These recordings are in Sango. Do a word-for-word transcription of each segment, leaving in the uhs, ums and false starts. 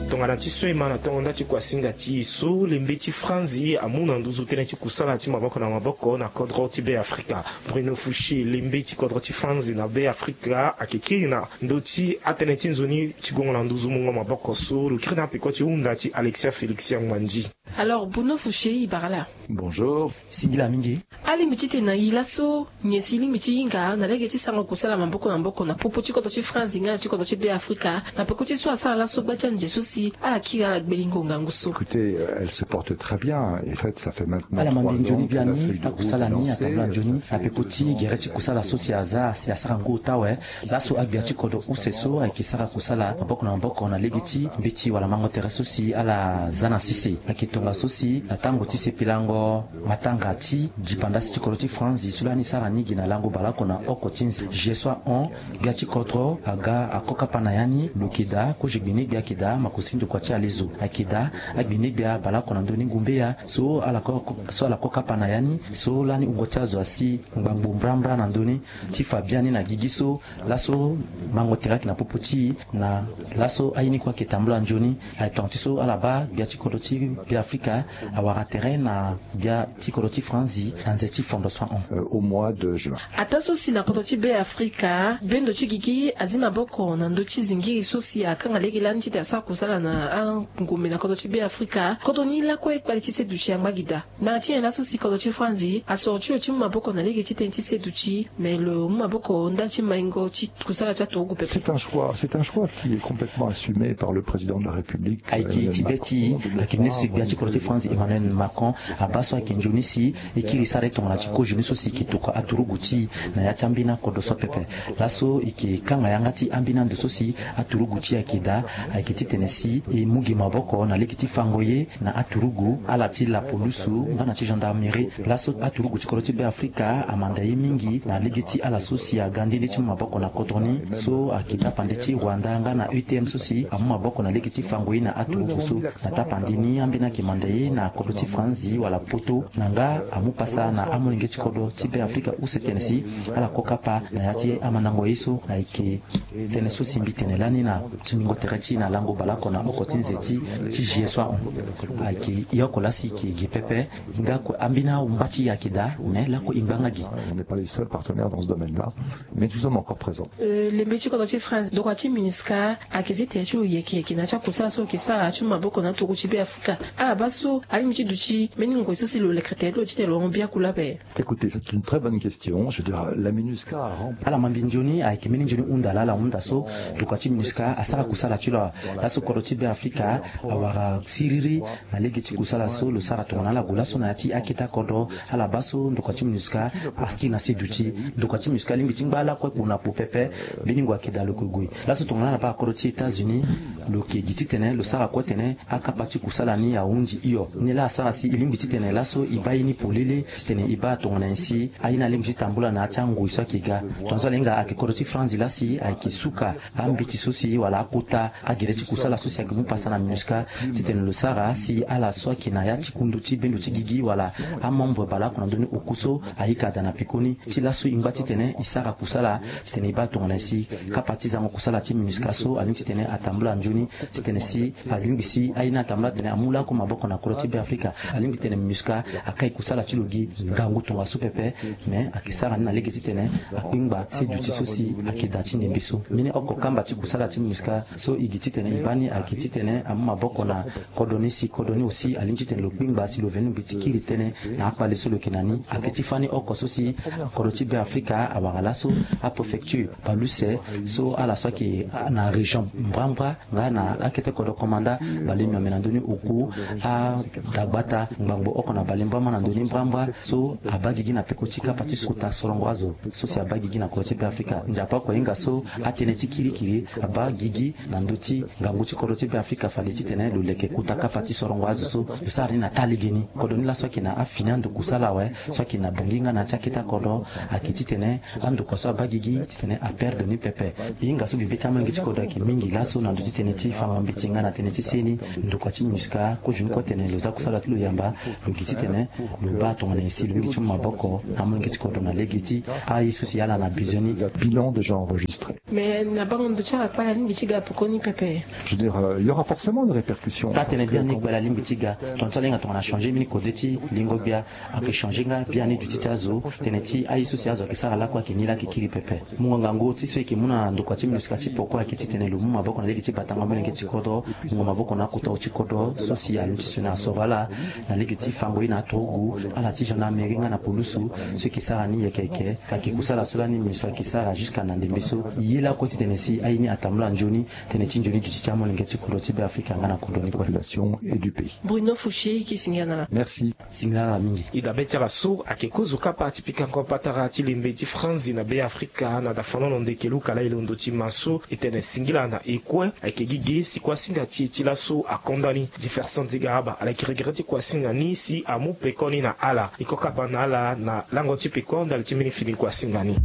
Tongana ti so e ma na tongo nda ti kuasinga ti e so, lembe ti Franzi amu na nduzu tënë ti kusala ti maboko na maboko na kodro ti Be Afrika. Bruno Fouché, lembe ti kodro ti Franzi na Be Afrika, ayeke kiri na ndö ti atënë ti nzoni ti gongo na nduzu mungo maboko so lo kiri na peko ti hunda ti Alexia Félix Yangmandi. Alors, Bruno Fouché, e bara laa. Bonjour. Singila mingi. Alingbi titene na e laso, nyen si e lingbi ti hinga na lege ti sara kusala maboko na maboko na popo ti kodro ti Franzi nga na ti kodro ti Be Afrika, na peko ti so asara laso gba ti anze so si ala kiri ala gbelingo ngangu so. Écoutez, euh, elle se porte très bien. En fait, ça fait maintenant trois ans que la feuille de route est lancée. Ala ma mbi nzoni biani, akusala ni atambula nzoni na peko ti gere ti kusala so si aza si asara ngu ota awe. Laso agbia ti kodro use so ayeke sara kusala maboko na maboko na lege ti mbeti wala mango tere so si ala za na sese. Ayeke tongaso si na tango ti sepelango matanga ti dipandasi ti kodro ti Franzi so lani sara ni gi na lango baleoko na oko ti nze. G soixante-onze, gbia ti kodro aga akokapa na ya ni, lo yeke daa kozo gbinigbia ayeke daa makosi ndokua ti alezo. Ayeke daa agbinigbia baleoko na ndö ni ngumbeya so ala ko, so ala kokapa na ya ni, so lani wungo ti azo asi ngbangbo mbrambra na ndö ni. Ti fa biani na gigi so laso mango tere ayeke na popo ti e, na laso aye ni kue ayeke tambula nzoni. Aye tonga ti so ala baa gbia ti kodro ti Be Afrika awara tere na gbia ti kodro ti Franzi na nze ti fondo soixante-onze. Euh, au mois de juin. Ataa so si na kodro ti Be Afrika, bendo ti gigi azi maboko na ndö ti zingiri so si akanga lege lani titene asara kusala na angombe na kodro ti Be Afrika. Kodro ni lakue kpali ti seduti angba gi daa. Na ya ti nyen laso si kodro ti Franzi asoro ti lo ti mu maboko na lege ti tënë ti seduti, me lo mu maboko ndali ti maingo ti kusala ti aturugu pepe. C'est un choix, c'est un choix qui est complètement assumé par le président de la République, Emmanuel Macron. Ayeke ti be ti, ayeke ministre gbia ti kodro ti Franzi Emmanuel Macron abaa so ayeke nzoni si e kiri sara e tongana ti kozo ni so si e yeke tokua aturugu ti e na ya ti ambeni akodro so pepe. Laso e yeke kanga yanga ti ambeni ando so si aturugu ti e ayeke daa, ayeke titene si e mu gi maboko na lege ti fango ye na aturugu, ala ti lapolusu nga na ti gendarmerie. Laso aturugu ti kodro ti Be Afrika amanda ye mingi na lege ti ala so si aga nde nde ti mu maboko na kodro ni so ayeke tapande ti Rwanda nga na E T M so si amu maboko na lege ti fango ye na aturugu so. Na tapande ni ambeni ayeke manda ye na kodro ti Franzi wala poto na nga amu pasa na amolenge ti kodro ti Be Afrika use tene si ala kokapa na ya ti amandango ye so. Ayeke tënë so si mbi tene lani na tingbingo tere ti e na lango baleoko na oko ti nze ti, ti G soixante-onze. Ayeke e oko laa si e yeke gi pepe. Nga kue ambeni ahungba ti e ayeke daa, me lakue e ngba nga gi. On n'est pas les seuls partenaires dans ce domaine-là, mais nous sommes encore présents. Euh, lembe ti kodro ti Franzi, ndokua ti MINUSCA ayeke zi tene ti lo yeke yeke na ya ti akusala so lo yeke sara ti mu maboko na aturugu ti Be Afrika. Ala baa so alingbi ti duti mbeni ngoi so si lo leke tene ti lo titene lo hon biaku laa ape. Écoutez, c'est une très bonne question. Je veux dire, la MINUSCA a rempli. Ala ma mbi nzoni, ayeke mbeni nzoni hunda laa ala hunda so. Ndokua ti MINUSCA asara kusala ti lo awe. Laso kodro ti Be Afrika awara siriri na lege ti kusala so lo sara tongana ala gue laso na ya ti akete akodro. Ala baa so ndokua ti MINUSCA akiri na seduti. Ndokua ti MINUSCA alingbi ti ngba lakue kpo na kpo pepe. Mbeni ngoi ayeke daa lo yeke gue. Laso tongana ala baa akodro ti États-Unis, lo yeke gi titene lo sara kue tene akapa ti kusala ni ahunzi hio. Ni laa asara si e lingbi titene laso e baa ye ni polele, titene e baa tongana nyen si aye ni alingbi ti tambula na ya ti angoi so ayeke ga. Tongaso ala hinga ayeke kodro ti Franzi laa si ayeke suka ambeti so si wala akota agere ti kusala so si ayeke mu pasa na MINUSCA, titene lo sara si ala so ayeke na ya ti kundu ti bendo ti gigi wala amembre baleoko na ndö ni oku so ayeke daa na pekoni. Ti laso e ngba titene e sara kusala titene e baa tongana nyen si kapa ti zango kusala ti MINUSCA so alingbi titene atambula nzoni. Titene si alingbi si aye ni atambula titene amu lakue maboko na kodro ti Be Afrika. Alingbi titene MINUSCA akai kusala ti lo gi ngangu tongaso pepe. Me ayeke sara ni na lege titene akpengba seduti so si ayeke daa ti ndembe so. Mbeni oko kamba ti kusala ti MINUSCA so e gi titene e baa ni ayeke titene amu maboko na kodro ni si kodro ni aussi alingbi titene lo kpengba si lo veni lingbi ti kiri tënë na akpale so lo yeke na ni. Ayeke ti fani oko so si kodro ti Be Afrika awara laso apréfecture baleuse so ala so ayeke na région mbrambra nga na akete kodro komanda bale miombe na ndö ni oku, adagbata ngbangbo oko na bale mbama na ndö ni mbrambra so abaa gigi na peko ti kapa ti kota sorongo azo so si abaa gigi na kodro ti Be Afrika. Nzapa oko ahinga so atënë ti kirikiri abaa gigi na ndö ti ngangu ti kodro ti Be Afrika fade titene lo leke kota kapa ti sorongo azo so lo sara ni na taa legeni. Kodro ni laso ayeke na afini ando kusala awe so ayeke na Bangui nga na ya ti akete akodro. Ayeke titene andokua so abaa gigi titene aperdre ni pepe. E hinga so mbi be ti amolenge ti kodro ayeke mingi laso na ndö ti tënë Ti fango mbeti nga na tënë ti seni, ndokua ti MINUSCA akozo ni kue atene lo za kusala ti lo yamba, lo gi titene lo baa tongana nyen si lo mingi ti mu maboko na amolenge ti kodro na lege ti aye so si ala na besoin ni. Bilan déjà enregistré. Mais na bango ndo ti ala kpale alingbi ti ga pekoni pepe. Je veux dire, euh, il y aura forcément une répercussion. Taa tene biani kpale alingbi ti ga, tongana ti ala hinga tongana changer mbeni kode ti lingo gbia, ayeke changer nga biani duti ti azo. Tënë ti aye so si azo ayeke sara lakue ayeke ni laa ayeke kiri pepe. Mungo ngangu ti so e yeke mu na ndokua ti MINUSCA ti poko ayeke titene lo mu maboko na lege ti batango molenge ti kodro, mungo maboko na akota ti kodro so si aluti sioni asoro ala na lege ti fango ye na aturugu, ala ti gendarmerie nga na pulusu, so e yeke sara ni yeke yeke. Ka yeke kusala so lani MINUSCA ayeke sara jusqu'à na ndembe so. Ye lakue titene si aye ni atambula nzoni, tënë ti nzoni duti ti amolenge ti kodro ti Beafrika nga na kodro ni kue. Population et du pays. Bruno Fouché, e ke singila na ala. Merci. Singila na ala mingi. E dabe ti ala so ayeke kozo kapa ti pikango patara ti lembe ti franzi na Beafrika na dafanono ndeke luka laa e londo ti ma so e tene singila na e kue. Ayeke gi ge si kuasinga ti e ti laso akonda ni. Jefferson Zigaraba ala yeke regret ti kuasinga ni si amu peko ni na ala. E ko kapa na ala na lango ti peko ndali ti mbeni fini kuasinga ni.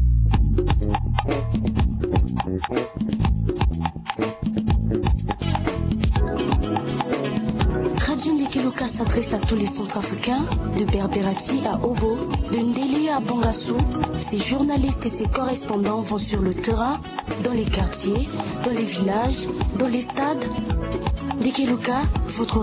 Radio Ndeke Luka s'adresse à tous les Centrafricains, de Berberati à Obo, de Ndélé à Bangassou. Ses journalistes et ses correspondants vont sur le terrain, dans les quartiers, dans les villages, dans les stades. Ndeke Luka, votre